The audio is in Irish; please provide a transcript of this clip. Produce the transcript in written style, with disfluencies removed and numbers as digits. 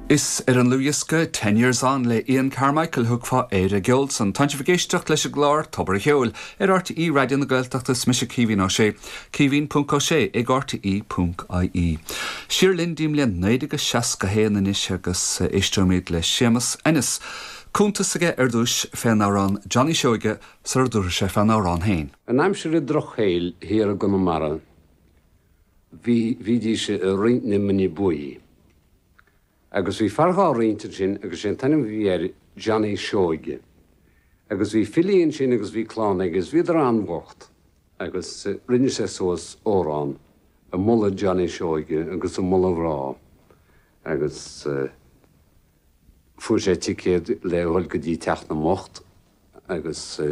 Is ar an ndlúthdhiosca Ten Years On le Ian Carmichael a thiocfá ar an gceol san. Tánn sibh ag éisteacht leis an gclár Tobar a' Cheoil ar RTÉ Raidió na Gaeltachta is mise Caoimhín Ó Sé, caoimhín ponc ó sé ag rte ponc ie. Siar linn dtí'n mbliain 1961 anois agus éisteoimid le Séamus Ennis. Cuntas aige ar dtúis fén amhrán Johnny Seoige sara dtabharfaidh sé fén amhrán féin. In aimsir an drochshaoil thiar i gConamara bhí, bhídís ag roinnt na mine buí. Agus bhí fear dhá roinnt ansin agus sé an t-ainm a bhí air Johnny Seoige. Agus bhí Philly ansin agus bhí clann aige agus bhíodar an-bhocht agus rinne sé suas amhrán ag moladh Johnny Seoige agus ag moladh a mhná agus fuair sé ticéad le dhul go dtí teach na mbocht agus.